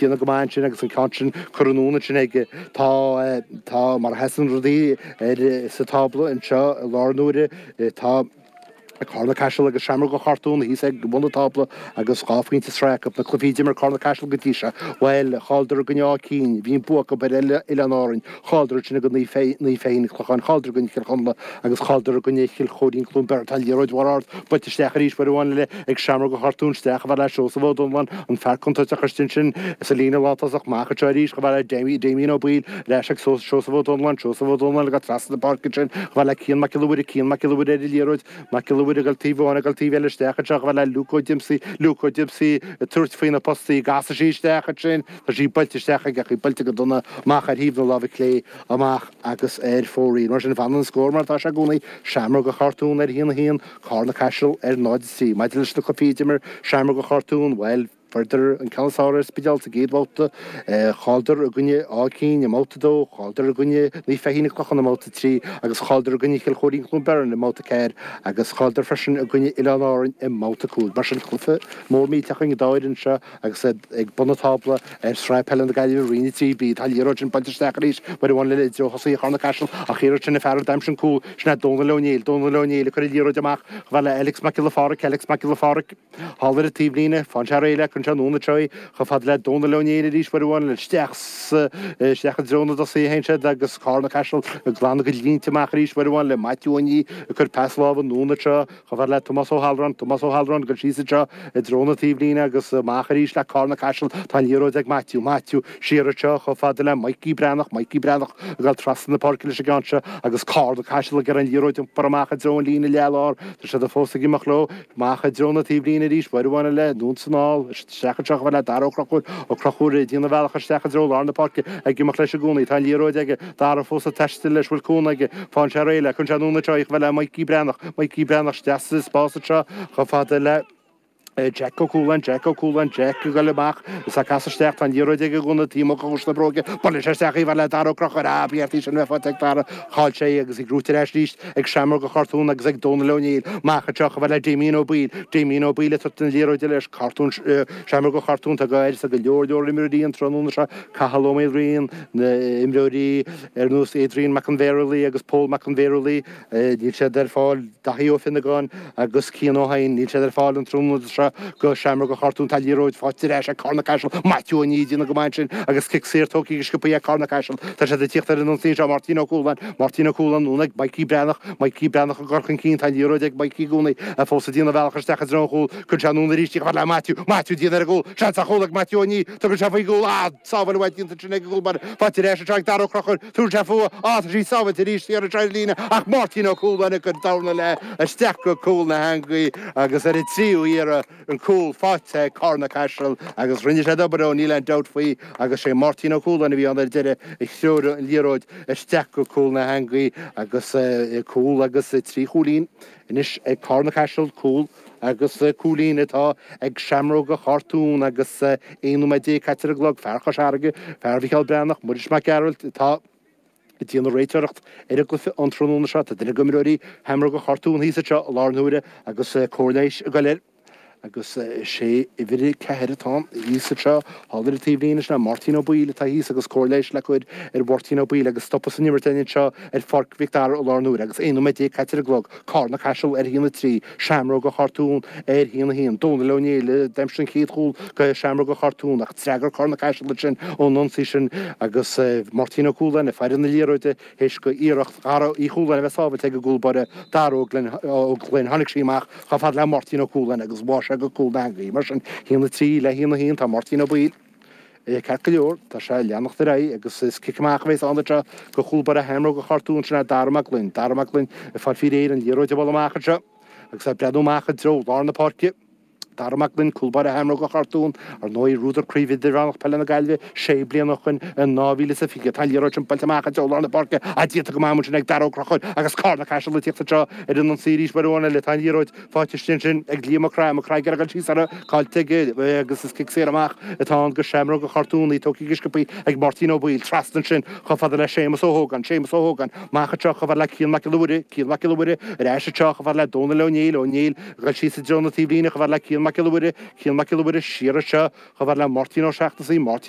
Déanamh go maith ansin agus an ceann sin curtha anonn ansin aige. Tá, tá, mar a sheasann rudaí ar, sa tábla anseo i láthair na huaire, tá Carna Caiseal agus Seamróga Chartún thíos ag bun an tábla agus 2 phointe sraith acu. Na cluichí a d'imir Carna Caiseal go dtí seo, bhuel, chailleadar i gcoinne Áth Cinn, bhí an bua acu ar Oileáin Árainn, chailleadar ansin i gcoinne Naomh Feichín, an Clochán, chailleadar i gcoinne Chill Chonla agus chailleadar i gcoinne Chill Chóirín Cluain Bheirn. Tá an liathróid mhór ard buailte isteach arís uair amháin eile ag Seamróga Chartún isteach chomh fada le Seosamh Ó Donnláin, an fear contúirteach istigh ansin sa líne lántosach. Amach anseo arís chomh fada le Damien Ó Baoill, ar ais ag Seosamh Ó Donnláin, Seosamh Ó Donnláin ag dul trasna na páirce ansin chomh fada le Cian Mac Giolla Mhuire, Cian Mac Giolla Mhuire ar an liathróid, Mac Giolla Mhuire ag dul taobh amháin ag dul taobh eile isteach anseo chomh fada le Luke Ó Diomsaí, Luke Ó Diomsaí ag tabhairt faoi na postaí, an gcasfaidh sé isteach ansin, tá sí buailte isteach aige ach í buailte go dona amach ar thaobh na láimhe clé amach agus ar fóraoil. Mar sin, fanann an scór mar atá sé i gcónaí, Seamróga Chartún ar 1-1, Carna Caiseal ar 0-3. Maidir leis na cluichí a d'imir Seamróga Chartún, bhuel, fuaireadar an ceann is fearr ar an Spidéal sa gcéad bhabhta, chailleadar i gcoinne Áth Cinn i mbabhta 2, chailleadar i gcoinne Naomh Feichín an Clochán i mbabhta 3 agus chailleadar i gcoinne Chill Chóirín Cluain Bheirn i mbabhta 4 agus chailleadar freisin i gcoinne Oileáin Árainn i mbabhta 5. Mar sin, cluiche mór millteach againn an dá fhoireann seo agus iad ag bun an tábla ar Shraith Peile na Gaillimhe, Roinn 3B. Tá an liathróid sin buailte isteach arís uair amháin eile i dtreo thosaithe Charna Caiseal ach iarraidh sin an fear a d'aimsigh an cúl, sin é Dónal Ó Néill. Dónal Ó Néill ag cur an liathróid amach chomh fada le Alex Mac Giolla Pháraic, Alex Mac Giolla Pháraic thall ar an taobhlíne. Faigheann sé réidh le cuireann sé anonn anseo í chomh fada le Dónal Ó Néill arís uair amháin eile isteach sa isteach i dtreo na dtosaithe a théann siad agus Carna Caiseal ag glanadh a gcuid línte amach arís uair amháin le Maitiú Ó Nia ag cur pas láimhe anonn anseo Chomh fada le Tomás Ó hAllráin, Tomás Ó hAllráin, ag dul síos anseo i dtreo na taobhlíne agus amach arís le Carna Caiseal. Tá an liathróid ag Maitiú, Maitiú, siar anseo chomh fada le Mikey Breathnach, Mikey Breathnach ag dul trasna na páirce leis an gceann seo agus Carna Caiseal ag iarraidh an liathróid a iompar amach i dtreo an líne leath-lár. Tá siad fós ag imeacht leo. Amach i dtreo na taobhlíne arís, uair amháin eile, anonn is anall, isteach anseo chomh fada le Dara Ó Conchúir, Ó Conchúir ag déanamh a bhealach isteach i dtreo lár na páirce, ag imeacht leis i gcónaí. Tá an liathróid aige. Dara fós ag taisteal leis, bhfuil cúnamh aige. Faigheann sé réidh le, cuireann sé anonn anseo í chomh fada le Mikey Breathnach, Mikey Breathnach isteach sa spás anseo chomh fada le Jack Ó Cualáin, Jack Ó Cualáin, Jack ag dul amach is ag casadh isteach, tá an liathróid aige i gcónaí taobh amuigh de chuas na bróige, buaileann sé isteach í chomh fada le Dara Ó Conchúir, ah, ba cheart í sin a bheith faighte ag Dara, chaill sé í agus í gnóite ar ais arís ag Seamróga Chartún agus ag Dónal Ó Néill, amach anseo chomh fada le Damien Ó Baoill, Damien Ó Baoill ag tabhairt na liathróide leis, Cartún, Seamróga Chartún, tá go go leor leor imreoirí an tráthnóna seo, Cathal Ó Maoilriain, Na imreoirí ar nós Adrian Mac an Bhéarlaí agus Pól Mac an Bhéarlaí, níl siad ar fáil, Daithí Ó Fionnagáin agus Cian Ó hEidhin, níl siad ar fáil an tráthnóna seo do Sheamróga Chartún. Tá liathróid faighte ar ais ag Carna Caiseal, Maitiú Ó Nia ag déanamh go maith ansin agus cic saor tógtha go sciobtha ag Carna Caiseal. Tá siad ag tíocht ar an ionsaí anseo, Máirtín Ó Cualáin, Máirtín Ó Cualáin anonn ag Mikey Breathnach, Mikey Breathnach ag dul chun cinn, tá an liathróid ag Mikey i gcónaí, fós ag déanamh a bhealach isteach i dtreo an chúil, cuireann sé anonn arís í chomh fada le Maitiú, Maitiú ag déanamh ar an gcúl, seans ar chúl ag Maitiú Ó Nia, tugann sé faoin gcúl, ah! Sábháil mhaith déanta ansin ag an gcúl báire. Faighte ar ais anseo ag Dara Ó Conchúir. Tugann sé fúithi. Á, tá sí sábháilte arís thiar anseo ar an líne ach Máirtín Ó Cualáin ag cur dorn léi isteach go cúl na heangaí agus ar an tríú iarraidh an cúl faighte ag Carna Caiseal agus rinne siad obair ó níl aon dabht faoi agus sé Máirtín Ó Cualáin a bhí ann ar deireadh a threoraigh an liathróid isteach go cúl na heangaí agus cúl agus 3 chúilín anois ag Carna Caiseal, cúl Agus cúilín atá ag Seamróga Chartún agus 11 nóiméad caite ar an gclog, fear Chois Fharraige, fear Mhicheál Breathnach, Muiris Mac Gearailt atá ag déanamh réiteoireacht ar an gcluiche an tráthnóna seo. Tá duine d'imreoirí Sheamróga Chartún thíos anseo i láthair na huaire agus cóir leighis ag dul air. Agus is é uimhir 4 atá ann thíos anseo thall ar an taobhlíne, sin é Máirtín Ó Baoill atá thíos agus cóir leighis le cur ar Mháirtín Ó Baoill agus stopadh san imirt againn anseo ar Pháirc Mhic Dara i láthair na huaire agus 11 nóiméad caite ar an gclog. Carna Caiseal ar 1-3, Seamróga Chartún ar 1-1. Dónal Ó Néill a d'aimsigh an chéad chúl do Sheamróga Chartún ach d'fhreagair Carna Caiseal ansin ón ionsaí sin agus Máirtín Ó Cualáin ag faire na liathróide théis do iarracht Dhara Uí Chualáin a bheith sábhailte ag an gcúl báire Dara Ó Gloinn. Tháinig sí amach chomh fada le Máirtín Ó Cualáin agus bháigh sé go cúl na heangaí. Mar sin, 1-3 le 1-1 tá Máirtín Ó Baoill. Ceart go leor, tá sé ag leanacht ar aghaidh agus is cic amach a bheas ann anseo do chúl báire Sheamróga Chartún, sin é Dara Mac Gloinn. Dara Mac Gloinn ag fáil faoi réir an liathróid a bhualadh amach anseo agus é ag breathnú amach i dtreo lár na páirce. Dara Mac Gloinn, cúl báire Sheamróga Chartún, ar ndóigh, bhuadar Craobh Idirmheánach Peile na Gaillimhe sé bliana ó shoin in 2020. Tá an liathróid sin buailte amach i dtreo lár na páirce ach déanta go maith ansin ag Dara Ó Conchúir agus Carna Caiseal ag tíocht anseo ar an ionsaí arís uair amháin eile. Tá an liathróid Faighte istigh ansin ag Liam Mac Craith, Mac Craith ag iarraidh dul síos uirthi, caillte aige agus is cic saor amach atá ann do Sheamróga Chartún, í tógtha go sciobtha ag Máirtín Ó Baoill, trasna ansin chomh fada le Séamus Ó hÓgáin, Séamus Ó Hógáin, amach anseo chomh fada le Cian Mac Giolla Mhuire, Cian Mac Giolla Mhuire ar ais anseo chomh fada le Dónal Ó Néill, Ó Néill ag dul síos i dtreo na taobhlíne chomh fada le Cian. Cian Mac Giolla Mhuire, Cian Mac Giolla Mhuire siar anseo chomh fada le Máirtín Ó Seachnasaigh, Máirtín Ó.